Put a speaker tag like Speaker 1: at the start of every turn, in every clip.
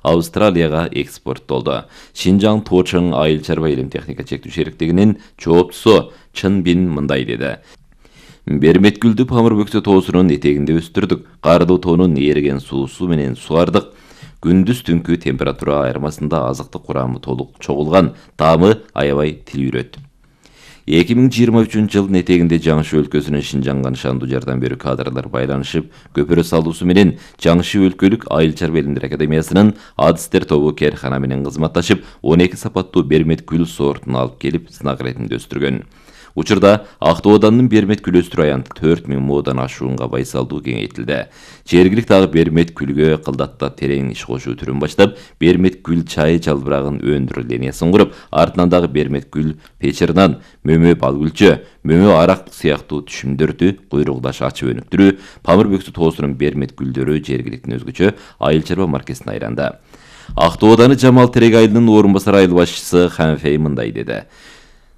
Speaker 1: Австралияга экспорттолду. Шинжаң Тоочоң айыл чарба илим техника чектүү шериктигинин жооптусу Чын Бин мындай деди. Берметгүлдү Памыр бөксө тоосунун этегинде өстүрдүк. Карды тоонун эриген суусу менен сугардык. Күндүз түнкү температура айырмасында азыктык курамы толук чогулган, таамы аябай тилүүрөт. 2023 жылдын этегинде Жаңшы өлкөсүнүн Шинжаңга нышандуу жардам берүү кадрлар байланышып, көпүрө салуусу менен Жаңшы өлкөлүк айыл чарба илимдер академиясынын адистер тобу керхана менен кызматташып, 12 сапаттуу бермет гүл сортун алып келип сынак иретинде өстүргөн. Учурда Ак Тоо ауданынын бермет гүл өстүрүү аянты 4000 моодан ашуунга байсалдуу кеңейтилди. Жергиликтүү дагы бермет гүлгө кылдаттап терең иш кошуу түрүн баштап, бермет гүл чайы жалбырагын өндүрүү линиясын куруп, артынан дагы бермет гүл печеринан мөмө балгүлчө, мөмө арак сыяктуу түшүмдөрдү куйругдаш ачып өнүктүрүү, Памыр бөксө тоосунун бермет гүлдөрү жергиликтин өзгөчө айыл чарба маркесине айланды. Ак Тоо ауданы Жамал Терек айылынын орун басар айыл башчысы Ханфей мындай деди.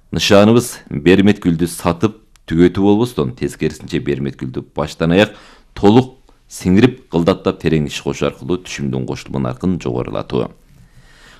Speaker 1: Нышаныбыз бермет гүлдү сатып түгөтүү болбостон, тескерисинче бермет гүлдү баштан аяк толук сиңирип, кылдаттап терең иш кошуу аркылуу түшүмдүн кошулма наркын жогорулатуу.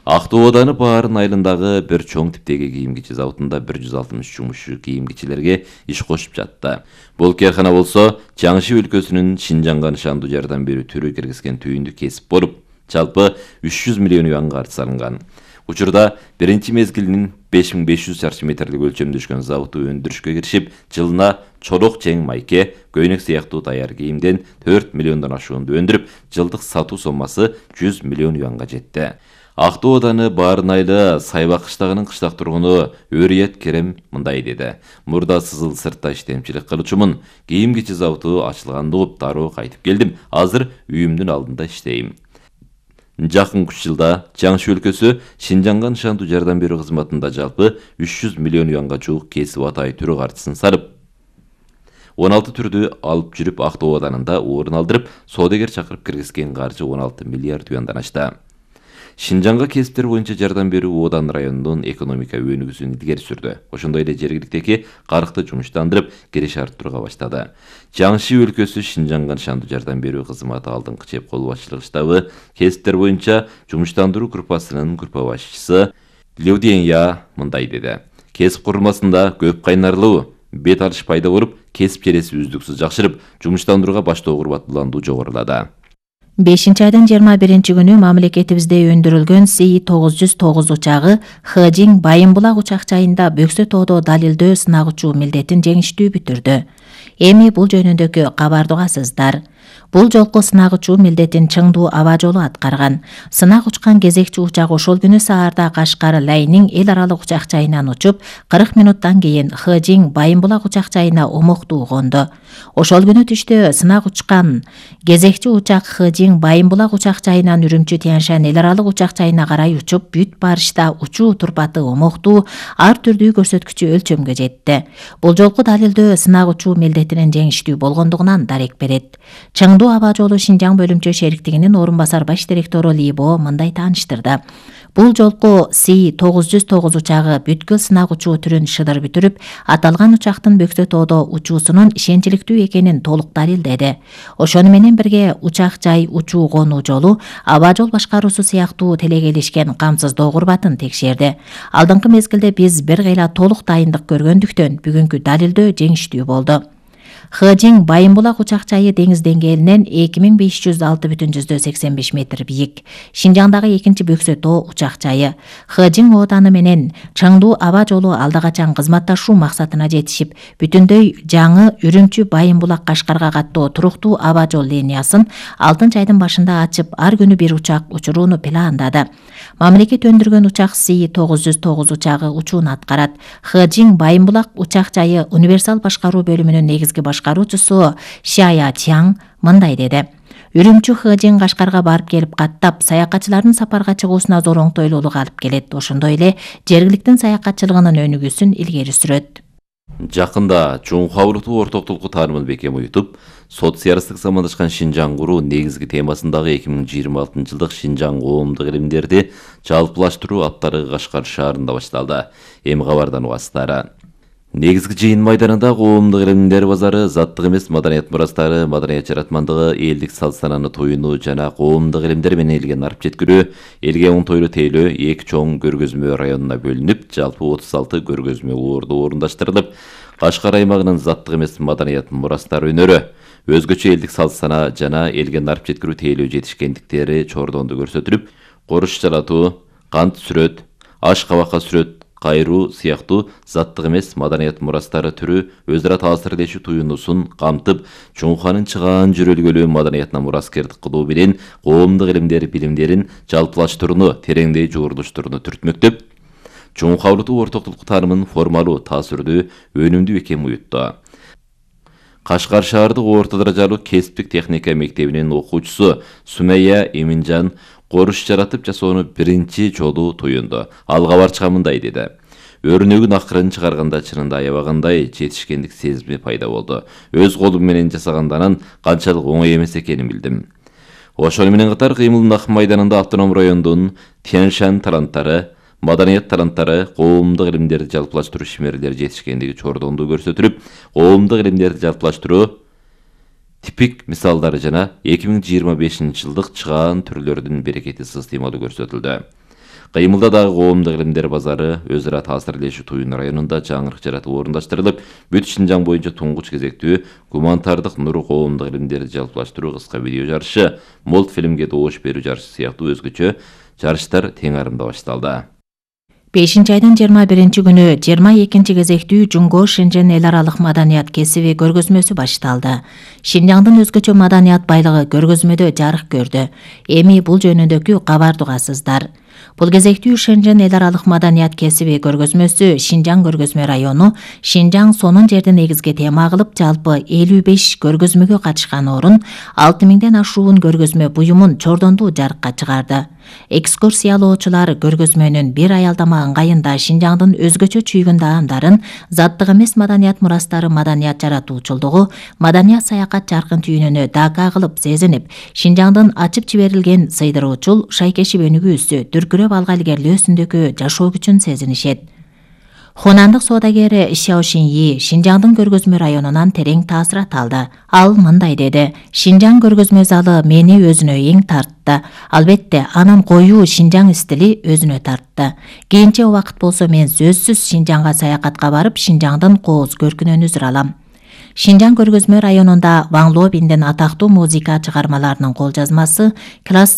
Speaker 1: Ак Тоо ауданы Баарын айылындагы бир чоң типтеги кийим кичи заводунда 160 жумушчу кийим кичилерге иш кошуп жатты. Бул керхана болсо Жаңшы өлкөсүнүн Шинжаңга нышандуу жардам берүү түрү киргизген түйүндү кесип болуп, жалпы 300 миллион юанга арыз салынган. Учурда биринчи мезгилинин 5500 чарчы метрлик өлчөмдөшкөн заводу өндүрүшкө киришип, жылына чорок чең майке, көйнөк сыяктуу даяр кийимден 4 миллиондон ашуунду өндүрүп, жылдык сатуу соммасы 100 миллион юанга жетти. Ак Тоо ауданы Баарын айылы Сайбак кыштагынын кыштак тургуну Өрият Керем мындай деди. Мурда Сызыл сыртта иштемчилик кылуучумун. Кийим кичи заводу ачылганды угуп дароо кайтып келдим. Азыр үйүмдүн алдында иштейм. Жакынкы 3 жылда Жаңшы өлкөсү Шинжаңга нышандуу жардам берүү кызматында жалпы 300 миллион юанга жуук кесип атай түрү картысын сарып, 16 түрдү алып жүрүп Ак Тоо ауданында орун алдырып, соодагер чакырып киргизген каржы 16 миллиард юандан ашты. Шинжаңга кесиптер боюнча жардам берүү Одан районунун экономика өнүгүүсүн илгери сүрдү. Ошондой эле жергиликтеги карыкты жумуштандырып, кириш арттырууга баштады. Жаңшы өлкөсү Шинжаңга нышандуу жардам берүү кызматы алдыңкы чеп кол башчылык штабы кесиптер боюнча жумуштандыруу группасынын группа башчысы Леуденья мындай деди. Кесип курулмасында көп кайнарлуу, бет алыш пайда болуп, кесип желеси үздүксүз жакшырып, жумуштандырууга баштоо курбаттууландуу жогорулады.
Speaker 2: 5-айдын 21-күнү мамлекетибизде өндүрүлгөн Си-909 учагы Хэжиң Байымбулак учак жайында Бөксө тоодо далилдөө сынак учуу милдетин жеңиштүү бүтүрдү. Эми бул жөнүндөгү кабарды угасыздар. Бул жолку сынак учуу милдетин Чыңдуу аба жолу аткарган. Сынак учкан кезекчи учак ошол күнү саарда Кашкар Лайнин эл аралык учак жайынан учуп, 40 минуттан кийин Хэжиң Байымбулак учак жайына омоктуу конду. Ошол күнү түштө сынак учкан кезекчи учак Хэжиң Байымбулак учак жайынан Үрүмчү Тянь-Шань эл аралык учак жайына карай учуп, бүт барышта учуу турпаты омоктуу, ар түрдүү көрсөткүчү өлчөмгө жетти. Бул жолку далилдөө сынак учуу милдетинин жеңиштүү болгондугунан дарек берет. Чыңдуу аба жолу Шинжаң бөлүмчө шериктигинин орун басар баш директору Либо мындай тааныштырды. Бул жолку Си-909 учагы бүткүл сынак учуу түрүн шыдыр бүтүрүп, аталган учактын Бөксө тоодо учуусунун ишенчиликтүү экенин толук далилдеди. Ошону менен бирге учак жай учуу конуу жолу, аба жол башкаруусу сыяктуу телегелишкен камсыздоо курбатын текшерди. Алдыңкы мезгилде биз бир кыйла толук дайындык көргөндүктөн бүгүнкү далилдөө жеңиштүү болду. Хэжиң Байымбулак учак жайы деңиз деңгээлинен 2506,85 метр бийик. Шинжаңдагы экинчи Бөксө тоо учак жайы. Хэжиң ооданы менен Чыңдуу аба жолу алда качан кызматташуу максатына жетишип, бүтүндөй жаңы Үрүмчү Байымбулак Кашкарга каттоо туруктуу аба жол линиясын 6-айдын башында ачып, ар күнү бир учак учурууну пландады. Мамлекет өндүргөн учак Си-909 учагы учууну аткарат. Хэжиң Байымбулак учак жайы универсал башкаруу бөлүмүнүн негизги башкаруучусу Шая Чаң мындай деди. Үрүмчү Хэжиң Кашкарга барып келип каттап, саякатчылардын сапарга чыгуусуна зор оңтойлуулук алып келет. Ошондой эле жергиликтин саякатчылыгынын өнүгүүсүн илгери сүрөт.
Speaker 1: Жакында чоң кабылыктуу ортоктулуку таанымын бекем уютуп, социалисттик замандашкан Шинжаң куруу негизги темасындагы 2026 жылдык Шинжаң коомдук илимдерди жалпылаштыруу аттары Кашкар шаарында башталды. Эми кабардан угасыздар. Негизги жыйын майданында коомдук илимдер базары, заттык эмес маданият мурастары, маданият жаратмандыгы, элдик салт-санааны тоюну жана коомдук илимдер менен элге нарып жеткирүү, элге оңтойлуу тейлөө 2 чоң көргөзмө районуна бөлүнүп, жалпы 36 көргөзмө уурду орундаштырылып, Кашкар аймагынын заттык эмес маданият мурастары өнөрү, өзгөчө элдик салт-санаа жана элге нарып жеткирүү тейлөө жетишкендиктери чордондо көрсөтүлүп, коруш жаратуу, кант сүрөт, аш кабакка сүрөт кайруу сыяктуу заттык эмес маданият мурастары түрү өз ара таасирлешүү туюнусун камтып, Чоңуханын чыгаан жөрөлгөлүү маданиятына мураскердик кылуу менен коомдук илимдер билимдерин жалпылаштырууну, тереңдей жуурулуштурууну түртмөктөп, Чоңуха улуттук ортоктук таанымын формалуу, таасирдүү, өнүмдүү экенин уютту. Кашкар шаардык орто даражалуу кесиптик техника мектебинин окуучусу Сумайя Эминжан коруш жаратып жасоону биринчи жолу туюнду. Алга барчка мындай деди: Өрнөгүн акырын чыгарганда чынында аябагандай жетишкендик сезими пайда болду. Өз колум менен жасагандан канчалык оңой эмес экенин билдим. Ошону менен катар кыймылдын ак майданында автоном райондун Тяньшань таланттары, маданият таланттары, коомдук илимдерди жалпылаштыруу ишмерлери жетишкендиги чордондо көрсөтүлүп, коомдук илимдерди жалпылаштыруу типик мисалдары жана 2025-жылдык чыгаан түрлөрдүн берекети сыстыймалуу көрсөтүлдү. Кыймылда дагы коомдук илимдер базары өз ара таасирлешүү туюн районунда жаңырык жаратып орундаштырылып, бүт Шинжаң боюнча туңгуч кезектүү гуманитардык нуру коомдук илимдерди жалпылаштыруу кыска видео жарышы, мультфильмге добуш берүү жарышы сыяктуу өзгөчө жарыштар тең арымда башталды.
Speaker 2: 5-айдын 21 күнү 22 кезектүү Жунго Шэньчжэн эл аралык маданият кесиби көргөзмөсү башталды. Шинжаңдын өзгөчө маданият байлыгы көргөзмөдө жарык көрдү. Эми бул жөнүндөгү кабарды угасыздар. Бул кезектүү Шэньчжэн эл аралык маданият кесиби көргөзмөсү Шинжаң көргөзмө району Шинжаң сонун жерди негизги тема кылып, жалпы 55 көргөзмөгө катышкан орун 6000ден ашуун көргөзмө буюмун чордондуу жарыкка чыгарды. Экскурсиялоочулар көргөзмөнүн бир аялдама ыңгайында Шинжаңдын өзгөчө чүйгүн даамдарын, заттык эмес маданият мурастары маданият жаратуучулдугу, маданият саякат жаркын түйүнүнө дака кылып сезинип, Шинжаңдын ачып жиберилген сыйдыруучул, шайкешип өнүгүүсү, дүркүрөп алга илгерилөөсүндөгү жашоо күчүн сезинишет. Хунандык соодагери Шяо Шиньи Шинжаңдын көргөзмө районунан терең таасират алды. Ал мындай деди: Шинжаң көргөзмө залы мени өзүнө эң тартты. Албетте, анын коюу Шинжаң стили өзүнө тартты. Кийинче убакыт болсо мен сөзсүз Шинжаңга саякатка барып, Шинжаңдын кооз көркүнөн үзүр алам. Шинжаң көргөзмө районунда Ван Лобиндин атактуу музыка чыгармаларынын кол жазмасы, классик